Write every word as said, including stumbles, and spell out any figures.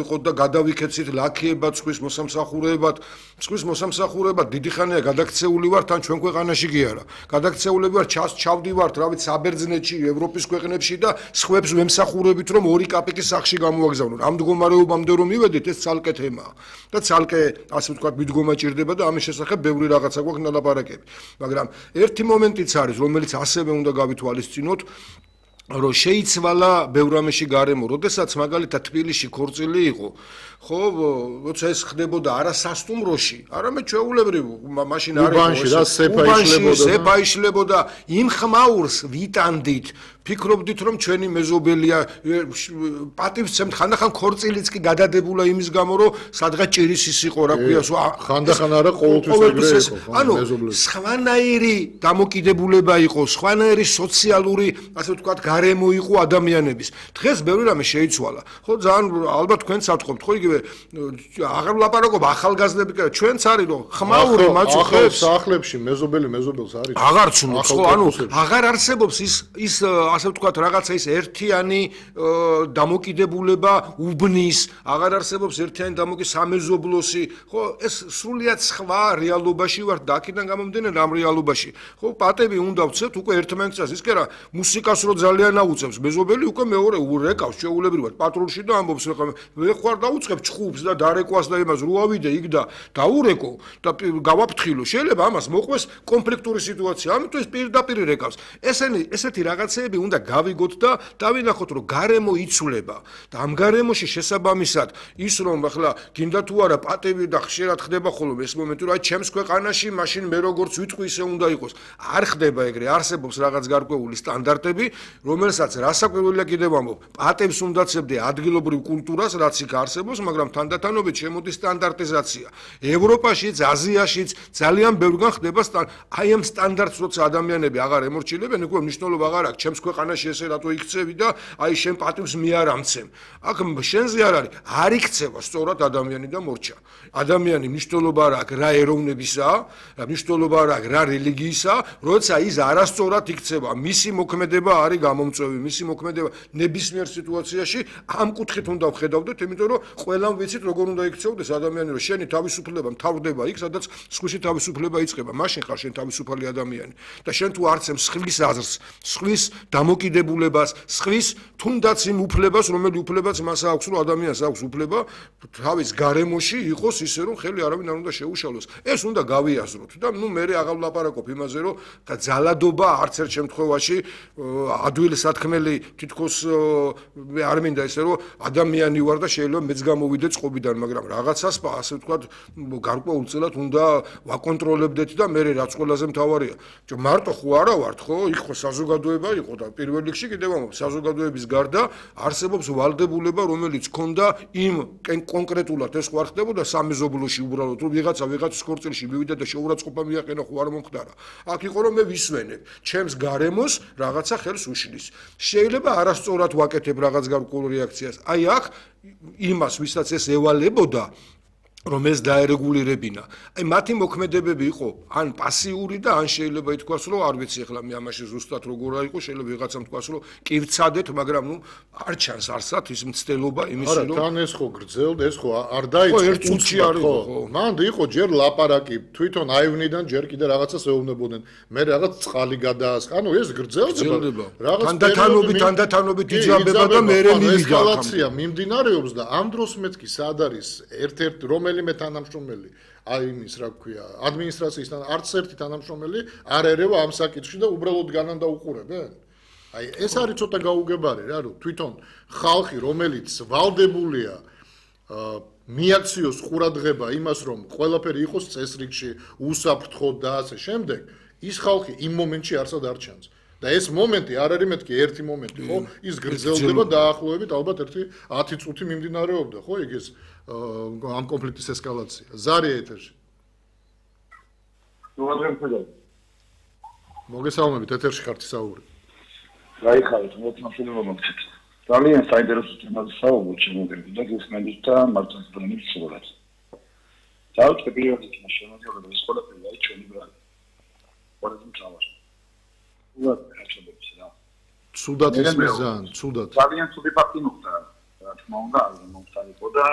იყო და გადავიქეცით ლაქიებად, სხვის მოსამსახურეებად, სხვის მოსამსახურეებად დიდი ხანია გადაქცეული ვართ, თან ჩვენ ქვეყანაში კი არა. გადაქცეულები ვართ, ჩავდივართ, რა ვიცი, საბერძნეთში, ევროპის ქვეყნებში და სხვებს ვემსახურებით, რომ ორი კაპიკის სახში გამოვაგზავნონ. ამ მდგომარეობამდე რომ მივედით, ეს ცალკე თემაა. და ცალკე, ასე ვთქვათ, მიდგომა ჭირდება და ამის შესახებ ბევრი რაღაცა გვაქვს ნალაპარაკები. მაგრამ ერთი მომენტიც არის, რომელიც ასევე უნდა გავითვალისწინოთ, რომ შეიცვალა ბევრ რამეში გარემო, როდესაც მაგალითად თბილისში ქორწილი იყო, ხო, როცა ეს ხდებოდა არა სასტუმროში, არამედ ჩვეულებრივ, მაშინ არ იყო სეფა იშლებოდა, იმ ხმაურს ვიტანდით, ფიქრობდით, რომ ჩვენი მეზობელია, პატივცემთ, ხანდახან ქორწილიც კი გადადებულა იმის გამო, რომ სადღაც ჭირისის იყო, რა ქვია, ხანდახან არა ყოველთვის ეგრე იყო, ანუ სხვანაირი დამოკიდებულება იყო, სხვანაირი სოციალური, ასე ვთქვათ, გარემო იყო ადამიანების. დღეს ბევრი რამე შეიცვალა. ხო, ძალიან ალბათ თქვენც ატყობთ, ხო, იგივე აღარ ვლაპარაკობ ახალგაზრდები, ჩვენც არის რომ ხმაური მაწუხებს სახლებში მეზობელი მეზობელს არის. აღარ ცნობს, ხო, ანუ აღარ არსებობს ის ის ასე ვთქვათ, რაღაცა ის ერთიანი დამოკიდებულება უბნის, აღარ არსებობს ერთიანი დამოკიდებულება სამეზობლოსი, ხო, ეს სრულიად სხვა რეალობაში ვართ და აქედან გამომდინარე ამ რეალობაში. ხო, პატები უნდა ვცეთ უკვე ერთმანეთს, ის კი არა, მუსიკას რო ძალიან აუწევს, მეზობელი უკვე მეორე ურეკავს ჩვეულებრივად პატრულში და ამბობს, რა მე ხوار დაუწყებ ჩხუბს და დარეკვას და იმას რო ავიდე იქ და დაურეკო და გავაფრთხილო. შეიძლება ამას მოყვეს კონფლიქტური სიტუაცია, ამიტომ ეს პირდაპირ რეკავს. ესენი ესეთი რაღაცეები უნდა გავიგოთ და დავინახოთ, რომ გარემო იცვლება და ამ გარემოში შესაბამისად ის რომ ახლა გინდა თუ არა პატები და ხშირად ხდება ხოლმე ეს მომენტი, რომ აი ჩემს ქვეყანაში მაშინ მე როგორც ვიტყვი ისე უნდა იყოს. არ ხდება ეგრე, არსებობს რაღაც გარკვეული სტანდარტები, რომელსაც რასაკვირველია კიდევ ამბობ, პატებს უნდა ცებდე ადგილობრივ კულტურას, რაც იქ არსებობს, მაგრამ თანდათანობით შემოდის სტანდარტიზაცია. ევროპაშიც, აზიაშიც ძალიან ბევრგან ხდება აი ამ სტანდარტს, როცა ადამიანები აღარ ემორჩილებენ, უკვე მნიშვნელობა აღარ აქვს, ჩემს ქვეყანაში ესე რატო იქცევი და აი შენ პატივს მე არ ამცემ. აქ შენზე არ არის, არ იქცევა სწორად ადამიანი და მორჩა. ადამიანი მნიშვნელობა არ აქვს რა ეროვნებისაა, მნიშვნელობა არ აქვს რა რელიგიისაა, როცა ის არასწორად იქცევა, მისი მოქმედება არის გამომწვევი, მისი მოქმედება ნებისმიერ სიტუაციაში ამ კუთხით უნდა ვხედავდეთ, იმიტომ რომ ყველამ ვიცით როგორ უნდა იქცეოდეს ადამიანი, რომ შენი თავისუფლება მთავრდება იქ, სადაც სხვისი თავისუფლება იწყება. მაშინ ხარ შენ თავისუფალი ადამიანი. და შენ თუ არცემ სხვის აზრს, სხვის დამოკიდებულებას, სხვის თუნდაც იმ უფლებას, რომელი უფლებაც მას აქვს, რომ ადამიანს აქვს უფლება თავის გარემოში იყოს ისე, რომ ხელი არავინ არ უნდა შეუშალოს. ეს უნდა გავიაზროთ და ნუ მე აღარ ვლაპარაკობ იმაზე, რომ და ძალადობა არც ერთ შემთხვევაში ადვილი სათქმელი თითქოს მე არ მინდა ისე, რომ ადამიანი ვარ და შეიძლება მეც გამოვიდე წყობიდან, მაგრამ რაღაცას ასე ვთქვათ, გარკვეულწილად უნდა ვაკონტროლებდეთ და მე რაც ყველაზე მთავარია. მარტო ხო არა ვართ, ხო? იქ ხო საზოგადოება იყო და პირველ რიგში კიდევ ამბობ, საზოგადოების გარდა არსებობს ვალდებულება, რომელიც ქონდა იმ კონკრეტულად ეს ხო არ ხდებოდა სამეზობლოში უბრალოდ, რომ ვიღაცა ვიღაცის ქორწილში მივიდა და შეურაცხყოფა მიაყენა, ხო არ მომხდარა. აქ იყო რომ მე ვისვენებ, ჩემს გარემოს რაღაცა ხელს უშლის. შეიძლება არასწორად ვაკეთებ რაღაც გარკვეულ რეაქციას. აი აქ იმას, ვისაც ეს ევალებოდა, რომ ეს დაერეგულირებინა. აი მათი მოქმედებები იყო ან პასიური და ან შეიძლება ითქვას, რომ არ ვიცი ახლა მე ამაში ზუსტად როგორ იყო, შეიძლება ვიღაცამ თქვას, რომ კი ვცადეთ, მაგრამ ნუ არ ჩანს არსად ის მცდელობა იმისი, რომ არა, თან ეს ხო გრძელდა, ეს ხო არ დაიწყო უცი არ იყო, ხო. მან იყო ჯერ ლაპარაკი, თვითონ აივნიდან ჯერ კიდე რაღაცას ეუბნებოდნენ. მე რაღაც წყალი გადაასხა. ანუ ეს გრძელდება. რაღაც თანდათანობით, თანდათანობით იჯაბება და მე მივიდა. ესკალაცია მიმდინარეობს და ამ დროს მეთქი სად არის ერთ-ერთ რომ მე თანამშრომელი, აი იმის რა ქვია, ადმინისტრაციისთან არც ერთი თანამშრომელი არ ერევა ამ საკითხში და უბრალოდ განან დაუყურებენ. აი ეს არის ცოტა გაუგებარი რა, რომ თვითონ ხალხი, რომელიც ვალდებულია მიაქციოს ყურადღება იმას, რომ ყველაფერი იყოს წესრიგში, უსაფრთხოდ და ასე შემდეგ, ის ხალხი იმ მომენტში არსად არ ჩანს. და ეს მომენტი არ არის მეთქი ერთი მომენტი, ხო? ის გრძელდება დაახლოებით ალბათ ერთი ათი წუთი მიმდინარეობდა, ხო? იქ ეს ამ კონფლიქტის ესკალაცია. ზარია ეთერში. მოგესალმებით, ეთერში ხართ საუბარი. გაიხარეთ, მოწმობა მოგცეთ. ძალიან საინტერესო თემაზე საუბრობთ შემოგერდი და გესმენთ და მართლაც პრემიის სურათს. დავიწყე პირველ რიგში შემოძიება ეს ყველაფერი აი ჩვენი ბრალი. ყველაზე მთავარი. უბრალოდ ხარჯებებს რა. ცუდად ისმის ძალიან, ცუდად. ძალიან ცუდი ფაქტი მოხდა. რა თქმა უნდა, არ მომხდარიყო და